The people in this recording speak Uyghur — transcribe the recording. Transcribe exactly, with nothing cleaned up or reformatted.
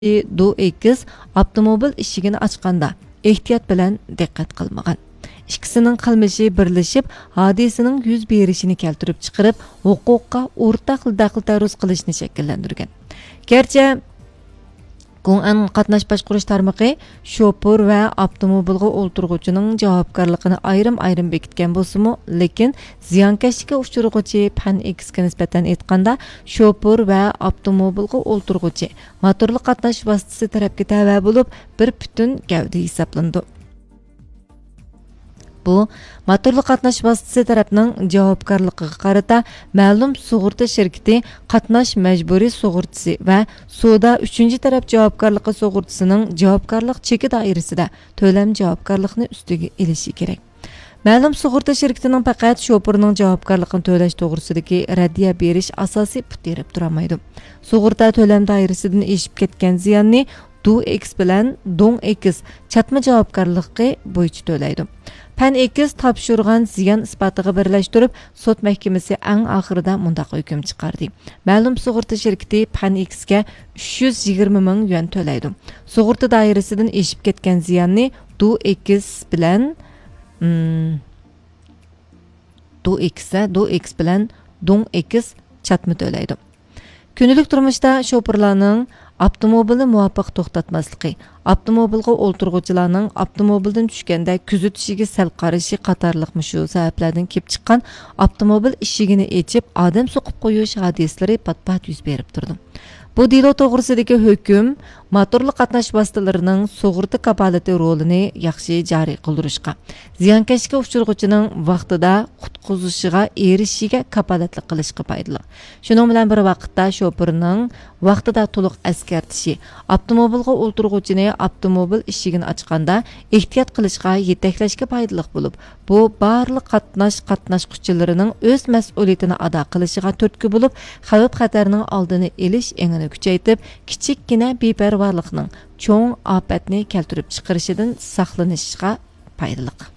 دو ئېكس ئاپتوموبىل ئىشىكىنى ئاچقاندا ئېھتىيات بىلەن دىققەت قىلمىغان. ئىككىسىنىڭ قىلمىشى بىرلىشىپ، ھادىسىنىڭ يۈز بېرىشىنى كەلتۈرۈپ چىقىرىپ، ھوقۇققا ئورتاق دەخلى تەرۇز قىلىشنى شەكىللەندۈرگەن. گەرچە گۇڭئەن قاتناش باشقۇرۇش تارمىقى شوپۇر ۋە ئاپتوموبىلغا ئولتۇرغۇچىنىڭ جاۋابكارلىقىنى ئايرىم-ئايرىم بېكىتكەن بولسىمۇ، لېكىن زىيانكەشلىككە ئۇچرىغۇچى پەن ئېكسكە نىسبەتەن ئېيتقاندا، شوپۇر ۋە ئاپتوموبىلغا ئولتۇرغۇچى موتورلۇق قاتناش ۋاسىتىسى تەرەپكە تەۋە بولۇپ، بىر پۈتۈن گەۋدە ھېسابلىنىدۇ. بۇ موتورلۇق قاتناش ۋاسىتىسى تەرەپنىڭ جاۋابكارلىقىغا قارىتا مەلۇم سۇغۇرتا شىركىتى قاتناش مەجبۇرىي سۇغۇرتىسى ۋە سودا ئۈچىنچى تەرەپ جاۋابكارلىقى سۇغۇرتىسىنىڭ جاۋابكارلىق چېكى دائىرىسىدە تۆلەم جاۋابكارلىقىنى ئۈستىگە ئېلىشى كېرەك. مەلۇم سۇغۇرتا شىركىتىنىڭ پەقەت شوپۇرنىڭ جاۋابكارلىقىنى تۆلەش توغرىسىدىكى رەددىيە بېرىش ئاساسىي پۇت تىرەپ تۇرالمايدۇ. سۇغۇرتا تۆلەم دائىرىسىدىن ئېشىپ كەتكەن زىياننى دو ئېكس بىلەن دوڭ ئېكس چاتما جاۋابكارلىقى بويىچە تۆلەيدۇ. پەن ئېكس تاپشۇرغان زىيان ئىسپاتىغا بىرلەشتۈرۈپ، سوت مەھكىمىسى ئەڭ ئاخىرىدا مۇنداق ھۆكۈم چىقاردى: مەلۇم سۇغۇرتا شىركىتى پەن ئېكسكە ئۈچ يۈز يىگىرمە مىڭ يۈەن تۆلەيدۇ. سۇغۇرتا دائىرىسىدىن ئېشىپ كەتكەن زىياننى دو ئېكس بىلەن، ئىم، دو ئېكس، دو ئېكس بىلەن دوڭ ئېكس چاتما تۆلەيدۇ. كۈندىلىك تۇرمۇشتا شوپۇرلارنىڭ ئاپتوموبىلنى مۇۋاپىق توختاتماسلىقى، ئاپتوموبىلغا ئولتۇرغۇچىلارنىڭ ئاپتوموبىلدىن چۈشكەندە كۆزىتىشىگە سەل قارىشى قاتارلىق مۇشۇ سەۋەبلەردىن كېلىپ چىققان ئاپتوموبىل ئىشىكىنى ئېچىپ، ئادەم سوقۇپ قويۇش ھادىسىلىرى پات-پات يۈز بېرىپ تۇرىدۇ. بۇ دېلو توغرىسىدىكى ھۆكۈم موتورلۇق قاتناش ۋاسىتىلىرىنىڭ سۇغۇرتا كاپالىتى رولىنى ياخشى جارى قىلدۇرۇشقا، زىيانكەشلىككە ئۇچرىغۇچىنىڭ ۋاقتىدا قۇتقۇزۇشىغا ئېرىشىشىگە كاپالەتلىك قىلىشقا پايدىلىق. شۇنىڭ بىلەن بىر ۋاقىتتا، شوپۇرنىڭ ۋاقتىدا تولۇق ئەسكەرتىشى، ئاپتوموبىلغا ئولتۇرغۇچىنى ئاپتوموبىل ئىشىكىنى ئاچقاندا ئېھتىيات قىلىشقا يېتەكلەشكە پايدىلىق بولۇپ، بۇ بارلىق قاتناش قاتناشقۇچىلىرىنىڭ ئۆز مەسئۇلىيىتىنى ئادا قىلىشىغا تۈرتكە بولۇپ، خەۋپ-خەتەرنىڭ ئالدىنى ئېلىش ئېڭىنى كۈچەيتىپ، كىچىككىنە بىپەرۋالىقنىڭ چوڭ ئاپەتنى كەلتۈرۈپ چىقىرىشىدىن ساقلىنىشىغا پايدىلىق.